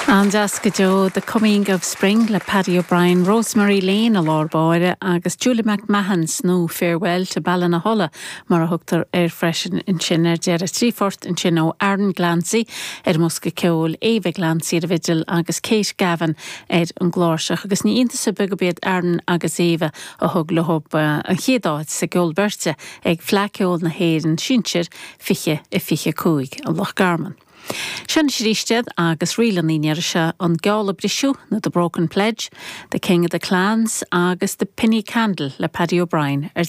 An-deas go deo The Coming of Spring le Paddy O'Brien, Rosemary Lane i lár báire agus Julie McMahon nó Farewell to Ballinahola mar a thugtar air freisin ansin ar deireadh. 3 phort ansin ó Aaron Glancy ar an mbosca ceoil, Ava Glancy ar an bhfidil agus Kate Gavin ar an gcláirseach. Agus ní iontas ar bith gurb iad Aaron agus Ava a thug leo an chéad áit sa gceol beirte ag Fleadh Ceoil na hÉireann Sinsir 2025 i Loch Garman. Seo anois arís iad agus ríleanna an iarraidh seo, An Geall a Briseadh nó The Broken Pledge, The King of the Clans agus The Penny Candle le Paddy O'Brien ar.